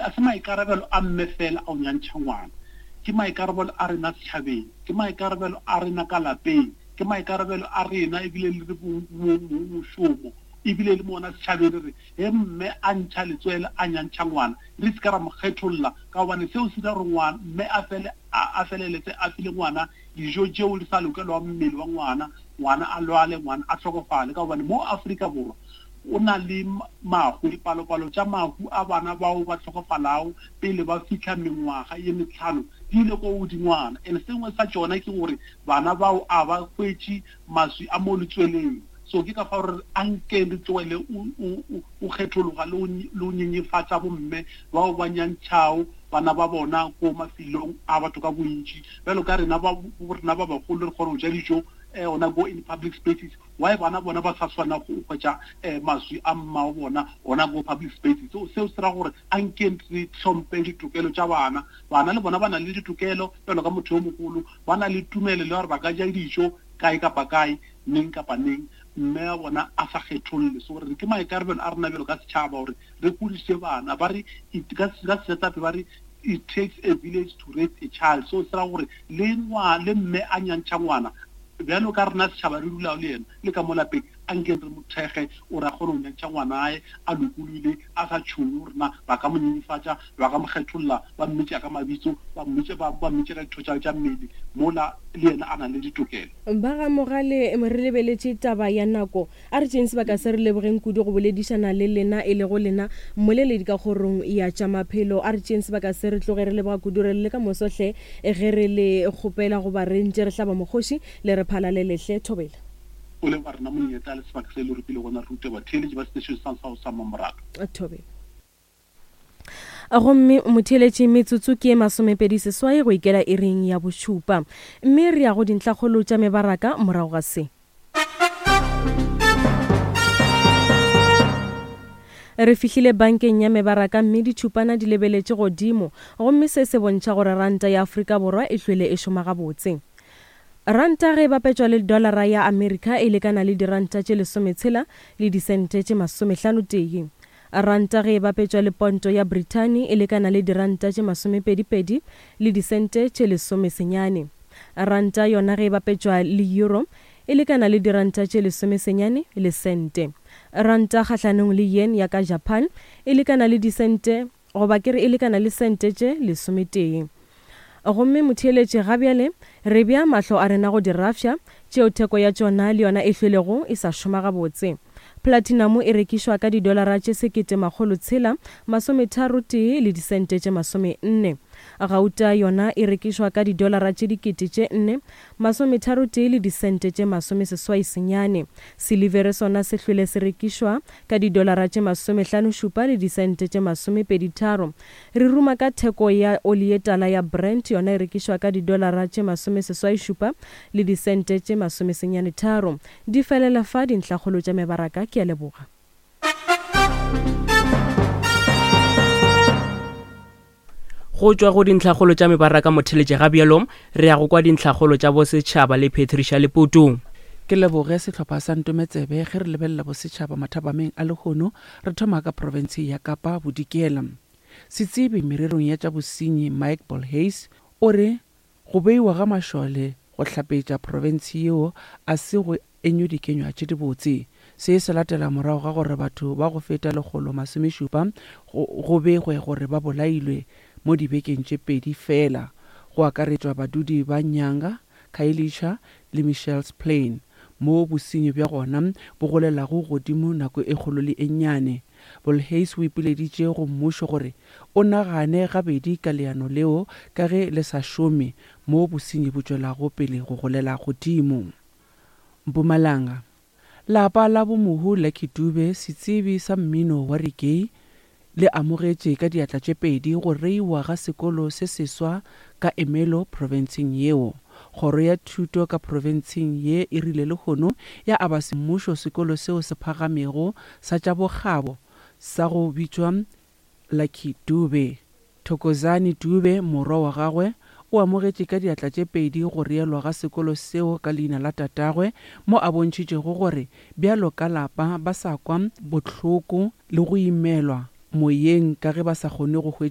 A se maikarabelo a mme fela a go nyantšha ngwana. Ke maikarabelo a rena setšhabeng, ke maikarabelo a rena ka lapeng, ke maikarabelo a rena ebile le re mošomo, ebile le mona setšhabeng re re ge mme a ntšha letswele a nyantšha ngwana re se ka ra mo kgetholla ka gobane seo se dira gore ngwana mme a fele a feleletse a file ngwana dijo tšeo di sa lokelwang mmele wa ngwana, ngwana a lwale, ngwana a hlokofale ka gobane mo Afrika Borwa o na le mahu, dipalopalo tša mahu a bana bao ba hlokofalago pele ba fihla mengwaga ye metlhano di ile ko godingwana. And sengwe sa tšona ke gore bana bao a ba hwetše maswi a mo letsweleng. So ke ka fao re re ankeng re tlogele o kgethologa le go nyenyefatša bomme bao ba nyantšhago bana ba bona ko mafelong a batho ka bontši. Bjalo ka rena ba rena ba bagolo re kgona go ja dijo gona ko in public spaces, why bana bona ba sa swana go hwetša maswi a mmago bona gona ko public spaces? So seo se ra gore ankeng re hlomphe ditokelo tša bana. Bana le bona ba na le ditokelo bjalo ka motho yo mogolo, ba na le tumelelo ya gore ba ka ja dijo kae kapa kae, neng kapa neng, mme wa bona a sa kgetholle. So re ke maikarabelo a rena bjalo ka setšhaba gore re godiše bana. Ba re ka Sejatlhapi ba re it takes a village to raise a child. So se ra gore le ngwa le mme a nyantšha ngwana bjalo ka rena setšhaba re dulago le yena le ka mo lapeng, a nkeng re mo thekge gore a kgone go nyantšha ngwanae a lokologile, a sa tšhoge gore na ba ka mo nyenyefatša, ba ka mo kgetholla, ba mmitša ka mabitso, ba mmitša ba ba mmitša ka ditho tša tša mmele mola le yena a na le ditokelo. Ba ga Mogale, re lebeletše taba ya nako. A re tšeeng sebaka se re lebogeng kudu go boledišana le lena, e lego lena mmoleledi ka kgorong ya tša maphelo. A re tšeeng sebaka se re tloge re leboga kudu re le ka moso hle ge re le kgopela goba re ntše re hlaba mokgoši le re phalalele hle. Thobela. O leboga rena monyetla le sebaka se le re filego gona re rute batheeletši ba setešeng sa sa sa Mmamoratho. Thobela. Gomme motheeletši metsotso ke ye masomepedi seswai go ikela iring ya bošupa. Mme re ya go dintlhakgolo tša mebaraka morago ga se. Re fihlile bankeng ya mebaraka mme ditšhupana di lebeletše godimo, gomme se se bontšha gore ranta ya Afrika Borwa e hlwele e šoma gabotse. Ranta ge e bapetšwa le dolara ya Amerika e lekana le diranta tše lesometshela le disente tše masomehlano-tee. Ranta ge e bapetšwa le ponto ya Brithani e lekana le diranta tše masomepedi-pedi le disente tše lesomesenyane. Ranta yona ge e bapetšwa le euro e lekana le diranta tše lesomesenyane le sente. Ranta kgahlanong le yen ya ka Japan e lekana le disente goba ke re e lekana le sente tše lesometee. Gomme motheeletši, ga bjale re bea mahlo a rena go dirafša, tšeo theko ya tšona le yona e hlwelego e sa šoma gabotse. Platinamo e rekišwa ka didolara tše sekete makgolo tshela masometharo tee le disente tše masomenne. Gauta yona e rekišwa ka didolara tše dikete tše nne masometharo tee le disente tše masomeseswai senyane. Silivere sona se hlwele se rekišwa ka didolara tše masomehlanošupa le disente tše masomepeditharo. Re ruma ka theko ya oli ye tala ya Brent, yona e rekišwa ka didolara tše masomeseswaišupa le disente tše masomesenyanetharo. Di felela fa dintlhakgolo tša mebaraka. Ke a leboga. Go tšwa go dintlhakgolo tša mebaraka motheletše ga bjalo re ya go kwa dintlhakgolo tša bosetšhaba le Patricia Leputu. Ke leboge sehlopha sa Ntometsebe ge re lebelela bosetšhaba mathapameng a lehono re thoma ka profense ya Kapa Bodikela. Setsebi mererong ya tša bosenyi Mike Bolhuis o re go beiwa ga mašole go hlapetša profense yeo a se go enywe dikenywa tše dibotse. Se se latela morago ga gore batho ba go feta lekgolo masomešupa go begwe gore ba bolailwe mo dibekeng tše pedi feela, go akaretšwa badudi ba Nyanga, Khayelitsha le Mitchells Plain, moo bosenyi bja gona bo golelago godimo nako e kgolo le e nnyane. Bolhuis o ipileditše go mmušo gore o nagane gabedi ka leano leo ka ge le sa šome moo bosenyi bo tšwelago pele go golela godimo. Mpumalanga, Lapa la bo mohu Lucky Dube, setsebi sa mmino wa reggae, le amogetše ka diatla tše pedi go reiwa ga sekolo se seswa ka Ermelo profenseng yeo. Kgoro ya thuto ka profenseng ye e rile lehono ya aba semmušo sekolo seo se phagamego sa tša bokgabo sa go bitšwa Lucky Dube. Thokozani Dube, morwa wa gagwe, o amogetše ka diatla tše pedi go reelwa ga sekolo seo ka leina la tatagwe, mo a bontšhitšego gore bjalo ka lapa ba sa kwa bohloko le go imelwa moyeng ka ge ba sa kgone go hwetša.